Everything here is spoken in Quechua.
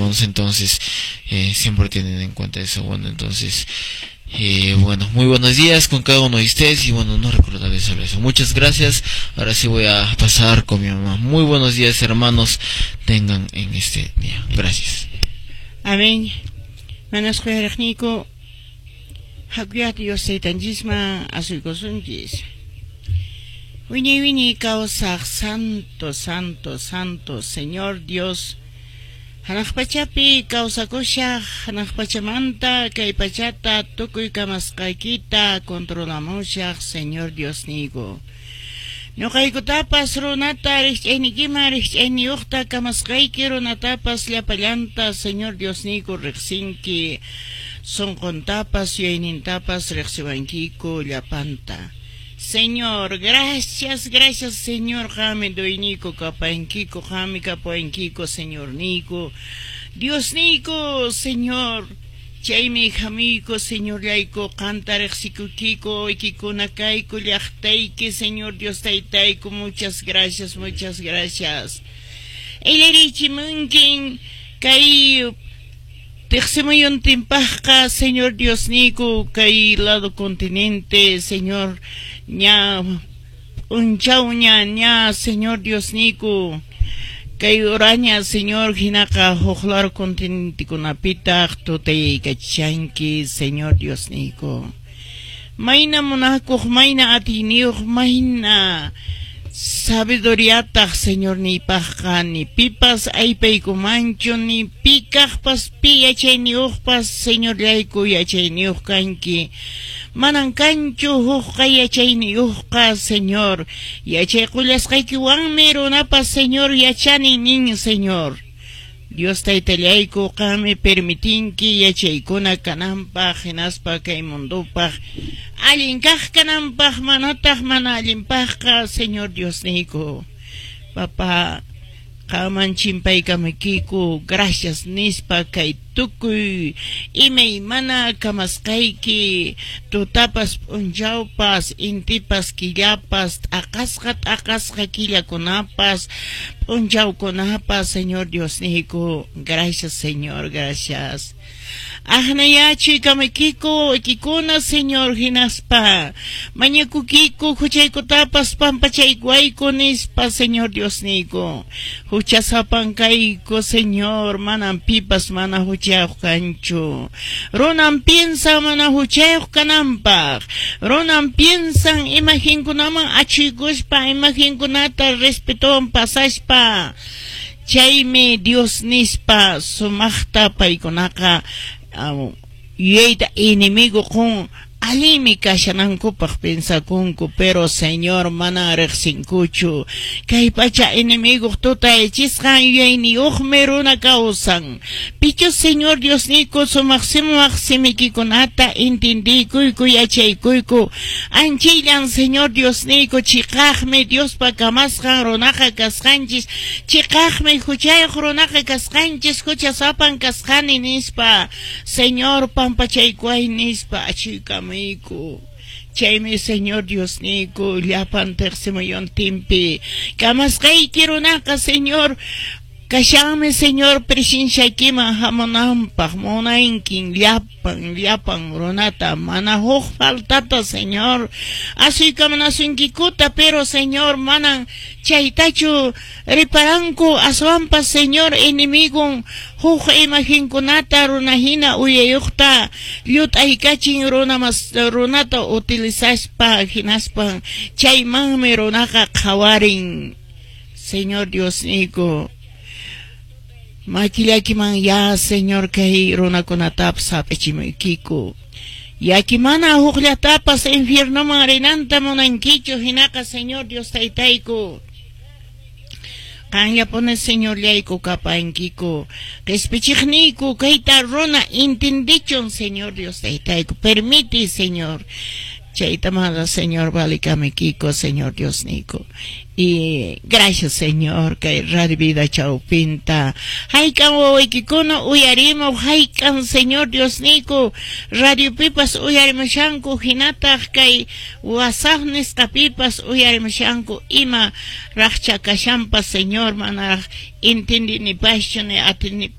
hermanos, entonces siempre tienen en cuenta eso. Bueno, entonces, bueno, muy buenos días con cada uno de ustedes y bueno, no recordarles sobre eso. Muchas gracias. Ahora sí voy a pasar con mi mamá. Muy buenos días, hermanos. Tengan en este día. Gracias. Amén. Manas quyariqniyku, hakuyá Dios taytanchisman asuykusunchis. Wiñay wiñay kawsaq santo, santo, santo, Señor Dios. Hanaq pachapi kawsakushaq, hanaq pachamanta kay pachata tukuy kamasqaykita controlamushaq, Señor Dios niyku. Ñuqaykutapas runata rikch'aynikiman rikch'ayniyuqta kamasqayki, runatapas llapallanta, Señor Dios niyku, riqsinki, sunquntapas yuyaynintapas riqsiwankiku llapanta. Señor, gracias, gracias, Señor, qammi dueñiku kapankiku, qammi kapuwankiku, Señor niyku. Dios niyku, Señor. Chaymi hamuyku, Señorllayku, qanta riqsikukiku, ikikuna kayku, llaqtayki, Señor Dios taytayku, muchas gracias, muchas gracias. Illarichimunkin kay tiqsimuyuntinpaqqa, Señor Dios niyku, kay lado continente, Señor, ña p'unchawña ña, Señor Dios niyku, kay uraña, Señor, hinaqa huk lado continentekunapitaq tutayaykachanki, Señor Dios niyku. Mayna munakuq, mayna atiyniyuq, mayna sabiduriataq Señor niypaqqa, ni pipas aypaykumanchu, ni pi kaqpas, pi yachayniyuqpas, Señorllayku, yachayniyuq kanki. Manan kanchu hukqa yachayniyuqqa, Señor. Yachay qullasqaykiwanmi runapas, Señor, yachani nin, Señor. Dios taytallayku, qammi permitinki yachaykuna kananpaq, hinaspa kay mundupaq allin kaq kananpaq, manataq mana allinpaqqa, Señor Dios niyku. Papá, qamman chimpaykamukiku, gracias nispa kay tukuy imaymana kamasqayki, tutapas p'unchawpas, intipas killapas, t'aqasqa t'aqasqa killakunapas, p'unchawkunapas, Señor Dios niyku. Gracias, Señor, gracias. Aqnayachuykamukiku ikikuna, Señor, hinaspa mañakukiku huchaykutapas pampachaykuwayku nispa, Señor Dios niyku. Huchasapan kayku, Señor, manan pipas mana huchayuq kanchu. Runan piensa mana huchayuq kananpaq. Runan piensan imagenkunaman achuykuspa, imagenkunata respetowan pasaspa. Chaymi Dios nispa sumaqta paykunaqa yuyayta enemigo qun allinmi kashanankupaq pensakunku, pero, Señor, mana riqsinkuchu. Kay pacha enemigo tutayachisqan yuyayniyuqmi runa kawsan. Pichus, Señor Dios niyku, sumaq sumaq simikikunata entendiykuyku, yachaykuyku. Anchillan, Señor Dios niyku, chiqaqmi Diospa kamasqan runaqa kasqanchis, chiqaqmi huchayuq runaqa kasqanchis, huchasapan kasqani nispa, Señor, pampachaykuway nispa achuykamuyku. Chaymi, Señor Dios niyku, llapan tiqsimuyuntinpi kamasqayki runaqa, Señor, kashanmi, Señor, presenciaykiman hamunanpaq. Munankin llapan llapan runata mana huk faltata, Señor, asuykamunasunkikuta, pero, Señor, manan chaytachu riparanku, aswanpas, Señor, enemigon huk imagenkunata runahina uyayuqta llut'aykachin runa mas runata utilizaspa, hinaspa chaymanmi runaqa qhawarin. Señor Dios niyku, makillakiman ya, Señor, kay runakunatapas hap'ichimuykiku. Yaki mana hukllatapas infiernoman rinanta munankichu, hinaqa, Señor Dios taytayku, qanllapuni, Señorllayku, kapankiku, qispichiqniyku. Kayta runa entendichun, Señor Dios taytayku, permiti, Señor. Chayta mana, Señor, valikamikiko, Señor Dios niyku. Y gracias, Señor, kay Radio Vida chawpinta hayk'an wawaykikuna uyarimuq, hayk'an, Señor Dios niyku, radiopipas uyarimushanku, hinataq kay WhatsApp nisqapipas uyarimushanku, ima raqcha kashanpas, Señor, manaraq entendinipaschu ni atinipaschu.